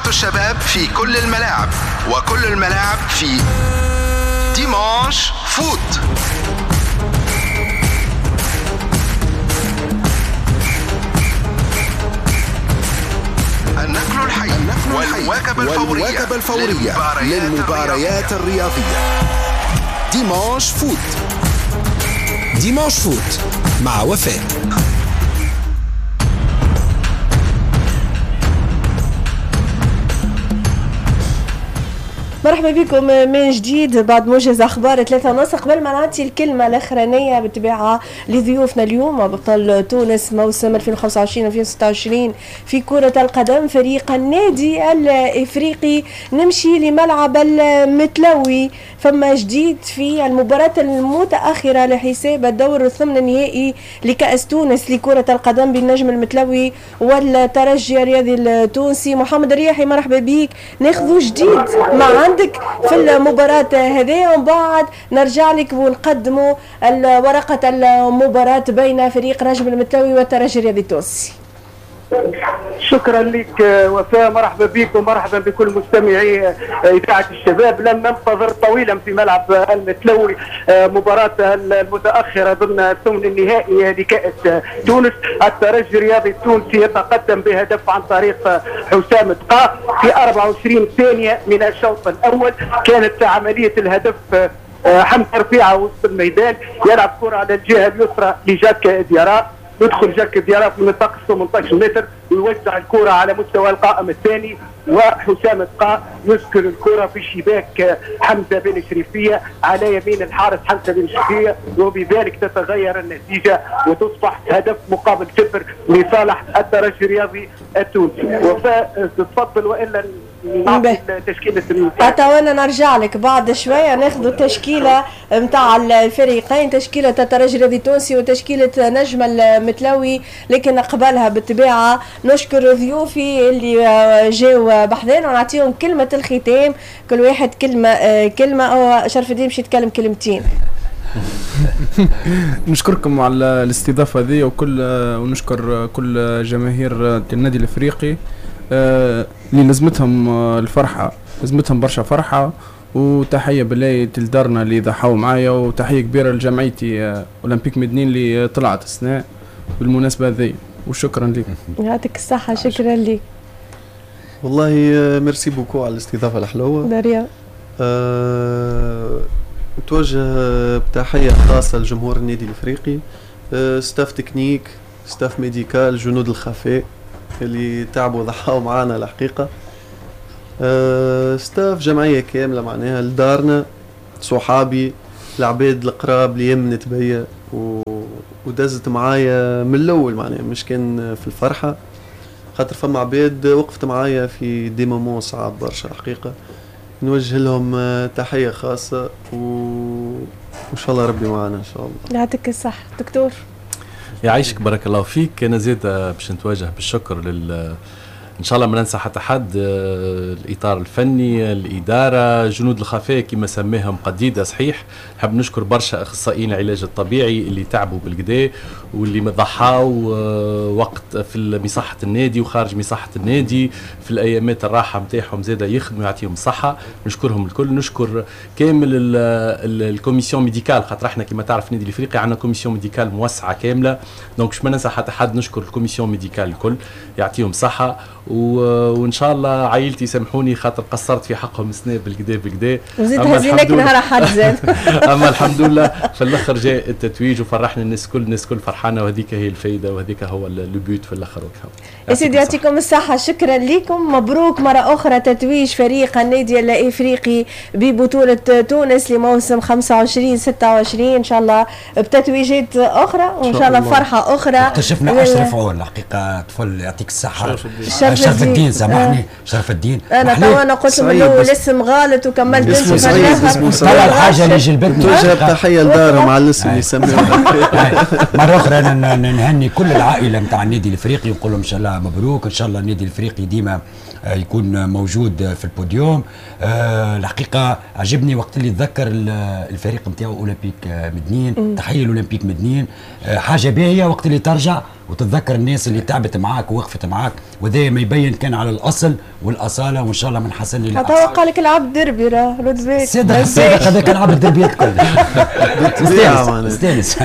إذاعة الشباب في كل الملاعب، وكل الملاعب في Dimanche Foot. النقل الحي والمواكبة الفورية للمباريات الرياضية. Dimanche Foot. Dimanche Foot مع وفاء. مرحبا بكم من جديد بعد موجز اخبار 3:30. قبل ما نعطي الكلمة الاخرانية بالطبيعة لضيوفنا اليوم، بطل تونس موسم 2025-2026 في كره القدم فريق النادي الافريقي، نمشي لملعب المتلوي. فما جديد في المباراة المتاخرة لحساب الدور الثمن النهائي لكاس تونس لكرة القدم بالنجم المتلوي والترجي الرياضي التونسي. محمد الرياحي مرحبا بك، ناخذ جديد مع عندك في المباراة هذه ومن بعد نرجع لك ونقدموا ورقة المباراة بين فريق نجم المتلوي والترجي الرياضي التونسي. شكرا لك وفاء، مرحبا بك ومرحبا بكل مستمعي إذاعة الشباب. لن ننتظر طويلا في ملعب المتلوي مباراة المتأخرة ضمن الثمن النهائي لكأس تونس. الترجي الرياضي التونسي يتقدم بهدف عن طريق حسام تقا في 24 ثانية من الشوط الأول. كانت عملية الهدف حمزة رفيعة وسط الميدان، يلعب كرة على الجهة اليسرى لجاك ديارا، يدخل جاك ديارا في منطقة 18 متر ويوزع الكرة على مستوى القائم الثاني، وحسام تقا يسكن الكرة في شباك حمزة بن شريفية على يمين الحارس حمزة بن شريفية، وبذلك تتغير النتيجة وتصبح هدف مقابل صفر لصالح الترجي الرياضي التونسي. وفاء تفضل والا تشكيلة حتى وانا نرجع لك بعد شوية ناخذ التشكيلة نتاع الفريقين، تشكيله الترجي الرياضي التونسي وتشكيله نجم المتلوي، لكن قبلها بالطبيعة نشكر ضيوفي اللي جاوا بحذانا ونعطيهم كلمة الختام، كل واحد كلمة كلمة. او شرف الدين باش يتكلم كلمتين. نشكركم على الاستضافة هذه وكل، ونشكر كل جماهير النادي الافريقي اللي لازمتهم الفرحة، لازمتهم برشا فرحه، وتحية بالله لدارنا اللي ضحوا معايا، وتحية كبيرة لجمعيتي اولمبيك مدنين اللي طلعت السنة بالمناسبة هذه، وشكرا لك. يعطيك الصحة، شكرا لك. والله merci beaucoup على الاستضافة الحلوة داريا. نتوجه بتحية خاصة لجمهور النادي الافريقي، staff technique، staff médical، جنود الخفاء اللي تعبوا وضحاوا معانا الحقيقة، staff جمعية كاملة معناها، لدارنا، صحابي، العباد القراب اللي يمنت بيا ودزت معايا من الاول، معناها مش كان في الفرحة، خاطر فما عباد وقفت معايا في des moments صعاب برشا الحقيقة. نوجه لهم تحية خاصة وان شاء الله ربي معانا ان شاء الله. يعطيك الصحة دكتور. يعيشك، بارك الله فيك. انا زيد باش نتوجه بالشكر لل، ان شاء الله ما ننسى حتى حد، الاطار الفني، الادارة، جنود الخفاء كما سماهم قديده. صحيح نحب نشكر برشا اخصائيين العلاج الطبيعي اللي تعبوا بالكدا واللي ضحاو وقت في مصحه النادي وخارج مصحه النادي في الايامات الراحة نتاعهم زاده يخدموا يعطيهم الصحة، نشكرهم الكل. نشكر كامل ال commission médicale، خاطر احنا كما تعرف النادي الافريقي عندنا commission médicale موسعه كاملة، donc باش ما ننسى حتى حد نشكر ال commission médicale الكل، يعطيهم صحة. وان شاء الله عائلتي يسامحوني خاطر قصرت في حقهم سنة بالكدا بالكدا، وزيد هزيناك نهار حد زاد. اما الحمد لله في الاخر جاء التتويج وفرحنا الناس كل، الناس كل فرحانة، وهذيك هي الفايدة وهذيك هو le but في الاخر. يا سيدي يعطيكم الصحة، شكرا لكم، مبروك مرة اخرى تتويج فريق النادي الافريقي ببطولة تونس لموسم 25-26، ان شاء الله بتتويجات اخرى وان شاء الله فرحه اخرى. اكتشفنا اشرف عون الحقيقة، طفل يعطيك الصحة، شرف الدين، سامحني شرف الدين. انا تو انا قلت من الاول الاسم غلط وكملت اسمه صعيب، طلع الحاجة اللي جلبتني. توجه تحية لدارهم على الاسم اللي سموه. مرة اخرى انا نهني كل العائلة نتاع النادي الافريقي ونقول لهم ان شاء الله مبروك، ان شاء الله النادي الافريقي ديما يكون موجود في البوديوم. الحقيقة عجبني وقت اللي تذكر الفريق نتاعو اولمبيك مدنين، تحية لاولمبيك مدنين، حاجة باهيه وقت اللي ترجع وتتذكر الناس اللي تعبت معاك ووقفت معاك، وهذا ما يبين كان على الاصل والاصاله، وان شاء الله من حسن الى احسن. حتى قال لك العب دربي راه رد بالك. صادق هذاك لعب الدربيات كلها. استانس.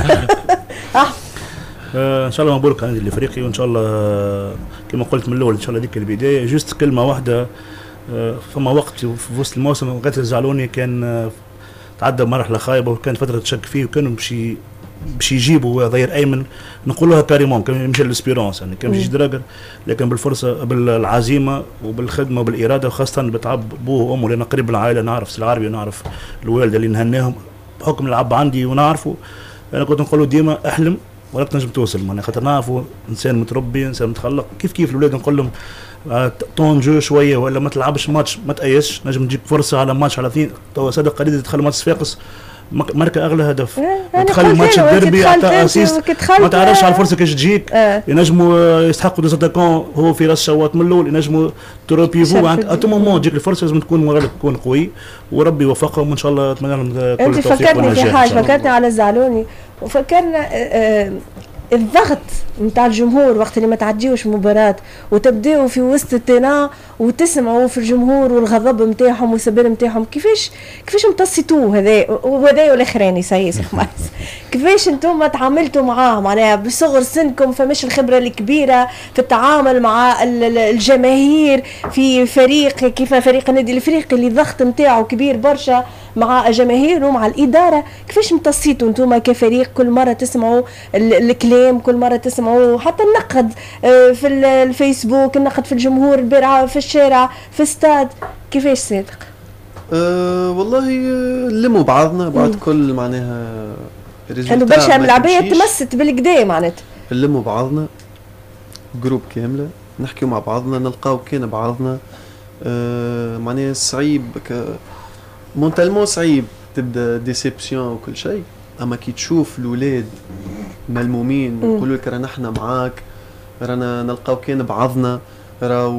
ان شاء الله مبروك على النادي الافريقي، وان شاء الله كما قلت من الاول ان شاء الله ديك البداية. juste كلمة واحدة، فما وقت في وسط الموسم غيث الزعلوني كان تعدى مرحلة خايبة وكانت فترة تشك فيه، وكانوا باش يجيبوا ظهير ايمن نقولوها carrément، كان يمشي لل Espérance يعني كان يمشي دراجر، لكن بالفرصه بالعزيمه وبالخدمه وبالاراده، وخاصة بتعب بوه وامه، لان قريب العائلة نعرف سي العربي ونعرف الوالدة اللي نهناهم بحكم العب عندي ونعرفه. انا كنت نقول له ديما احلم ولا تنجم توصل، معناها خاطر نعرفوا انسان متربي انسان متخلق. كيف كيف الاولاد نقول لهم temps de jeu شوية، ولا ما تلعبش ماتش ما تأيسش، نجم تجيك فرصة على ماتش على اثنين. توا صادق قليل دخل ماتش صفاقس ماركة اغلى هدف، دخل ماتش الديربي عطى assist، ما تعرفش على الفرصة كيفاش تجيك. ينجموا يستحقوا des attaquants هو في راس شواط من الاول، ينجموا trois pivots à tout moment تجيك الفرصة، لازم تكون moral ك تكون قوي، وربي يوفقهم وان شاء الله اتمنى لهم كل التوفيق. انت فكرتني في حاجة، فكرتني على الزعلوني، وفكرنا الضغط نتاع الجمهور وقت اللي ما تعديوش مباراة وتبداو في وسط ال terrain وتسمعوا في الجمهور والغضب نتاعهم والسبان نتاعهم، كيفاش امتصيتوه هذا وهذا والاخراني سيس خماس، كيفاش انتم تعاملتوا معاه معناها بصغر سنكم، فماش الخبرة الكبيرة في التعامل مع الجماهير في فريق كيف فريق النادي الافريقي اللي الضغط نتاعو كبير برشا مع جماهيره ومع الادارة، كيفاش امتصيتوا انتم كفريق كل مرة تسمعوا الكلام، كل مرة تسمعوا حتى النقد في الفيسبوك، النقد في الجمهور البارعه في الشارع في استاد، كيفاش صادق؟ والله نلموا بعضنا بعد كل معناها انه برشا ملعبيه تمست بالكدا معناتها، نلموا بعضنا groupe كاملة، نحكيو مع بعضنا، نلقاو كان بعضنا. معناها صعيب mentalement صعيب تبدا déception وكل شيء، اما كي تشوف الاولاد ملمومين يقولوا لك رانا احنا معاك، رانا نلقاو كان بعضنا، راهو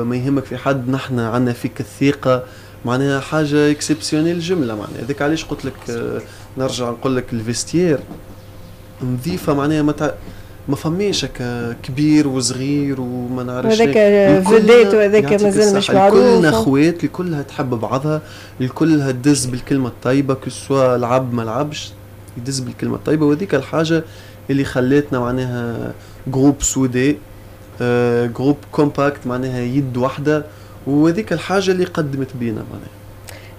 ما يهمك في حد، نحن عندنا فيك الثقة، معناها حاجة exceptionnelle الجملة. معناها هذاك علاش قلت لك نرجع نقول لك ال vestiaire نظيفة، معناها ما فماش كبير وصغير وما نعرفش، هذاك vedette وهذاك مازال مش معروف، كلنا اخوات، الكلها تحب بعضها، الكلها تدز بالكلمة الطيبة، que ce soit لعب ما لعبش يدز بالكلمة الطيبة، وهذيك الحاجة اللي خلاتنا معناها groupe soudé، groupe compact، معناها يد واحدة، وهذيك الحاجة اللي قدمت بينا معناها.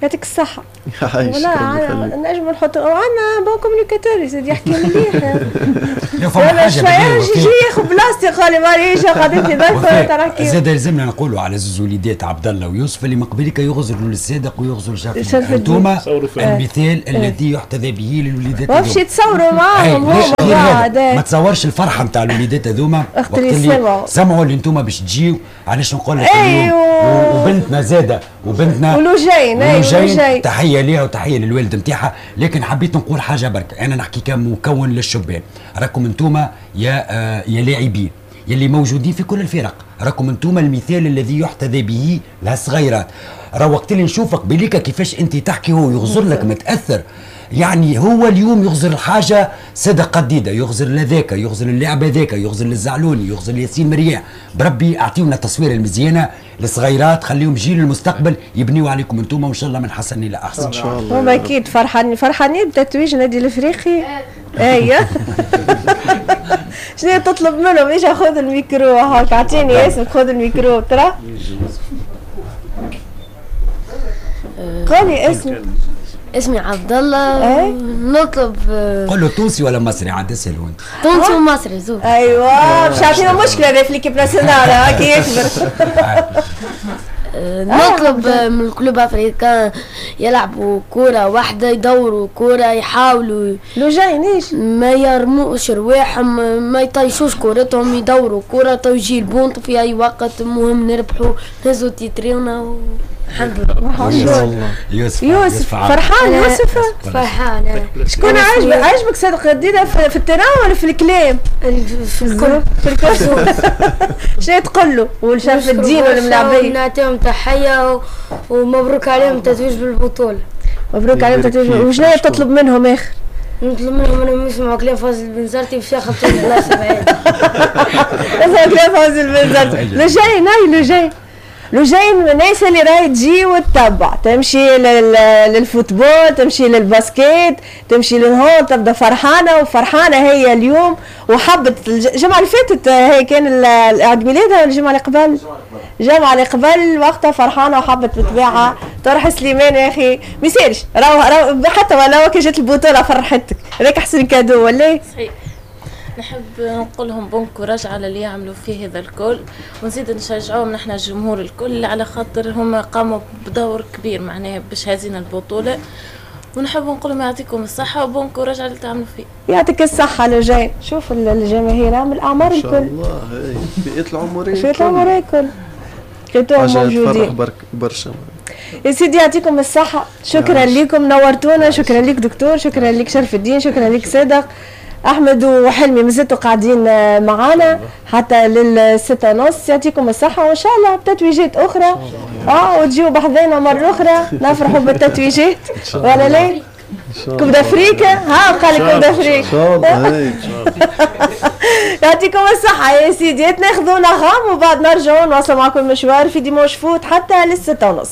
يعطيك الصحة. والله نجم نحط عندنا bon communicateur يزيد يحكي مليح. ولا شوية يجي ياخذ بلاصتي قال لي معليش قاعدين في ضيفة تراكي. زاد لازمنا نقولوا على زوز وليدات عبد الله ويوسف اللي من قبلك يغزروا للصادق ويغزروا لشرف، انتوما المثال الذي يحتذى به للوليدات هذوما. باش يتصوروا معاهم هما ما تصورش الفرحة نتاع الوليدات هذوما وقت اللي سمعوا اللي انتوما باش تجيو. علاش نقول لك وبنتنا زاده وبنتنا ولوجين تحية ليها وتحية للوالد نتاعها. لكن حبيت نقول حاجة برك، انا نحكي كمكون للشبان، راكم انتوما يا لاعبين يلي موجودين في كل الفرق، راكم انتوما المثال الذي يحتذى به للصغيرات. راه وقت اللي نشوفك بليكا كيفاش انت تحكي هو يغزر لك متاثر، يعني هو اليوم يغزر الحاجة صدق قديده، يغزر لذاك، يغزر اللاعب هذاك، يغزر للزعلوني، يغزر لياسين مرياح. بربي اعطيونا التصويره المزيانه للصغيرات، خليهم جيل المستقبل يبنيوا عليكم انتم، وان شاء الله من حسن الى احسن ان شاء الله. هما اكيد فرحانين فرحانين بتتويج النادي الافريقي. ايوه شنو تطلب منهم؟ اجا خذ الميكرو هاك، اعطيني اسمك خذ الميكرو ترى قولي اسمك. اسمي عبد الله. ايه؟ نطلب قول له تونسي ولا مصري عاد اساله انت. تونسي ومصري زوج. ايوه مش عارفين مشكلة هذا في l'équipe nationale كي يكبر. نطلب من ال Club Africain يلعبوا كرة واحدة، يدوروا كرة، يحاولوا لو جاينيش ما يرموش رواحهم، ما يطيشوش كرتهم، يدوروا كرة توجيه البونت في اي وقت، المهم نربحوا نهزوا تيترينا. الحمد لله. يوسف يوسف فرحان. يوسف فرحان. شكون عجبك؟ عجبك صادق قديده في ال terrain ولا في الكلام؟ في الكل. في الكل. شنو تقول له والشرف الدين والملاعبيه؟ نعطيهم تحية ومبروك عليهم التتويج بالبطولة. مبروك عليهم التتويج. وشنو تطلب منهم اخر؟ نطلب منهم انهم يسمعوا كلام فوزي البنزرتي باش ياخذوا البلاصة بعيد. يسمعوا كلام فوزي البنزرتي. لجين، هاي لجين، لجين من الناس اللي راهي تجي وتتبع، تمشي لل football، تمشي لل basket، تمشي لل hand، تبدا فرحانة، وفرحانه هي اليوم وحبت. الجمعة اللي فاتت هي كان عيد ميلادها، الجمعة اللي قبل، الجمعة اللي قبل، وقتها فرحانة وحبت بالطبيعة طرح سليمان. يا اخي ما يسالش، راهو حتى ولو كي جات البطولة فرحتك، هذاك احسن cadeau ولا؟ صحيح، نحب نقول لهم bon courage على اللي يعملوا فيه هذا الكل، ونزيد نشجعوهم نحن الجمهور الكل، على خاطر هما قاموا بدور كبير معناها باش هازين البطولة، ونحب نقول لهم يعطيكم الصحة و bon courage على اللي تعملوا فيه. يعطيك الصحة لجين. شوف الجماهير من الأعمار الكل، ما شاء الله، الفئات العمرية، الفئات العمرية الكل لقيتوهم موجودين. برشا يا سيدي، يعطيكم الصحة، شكرا لكم نورتونا، شكرا لك دكتور، شكرا لك شرف الدين، شكرا لك صادق. احمد وحلمي مازلتوا قاعدين معانا حتى لل6:30. يعطيكم الصحة، وان شاء الله بتتويجات اخرى وتجيو بحذانا مرة اخرى نفرحوا بالتتويجات، ولا لا؟ Coupe d'Afrique، ها قال لك Coupe d'Afrique. ان شاء الله. يعطيكم الصحة يا سيدي، ناخذوا نغم وبعد نرجعوا نواصلوا معكم المشوار في Dimanche Foot حتى لل6:30.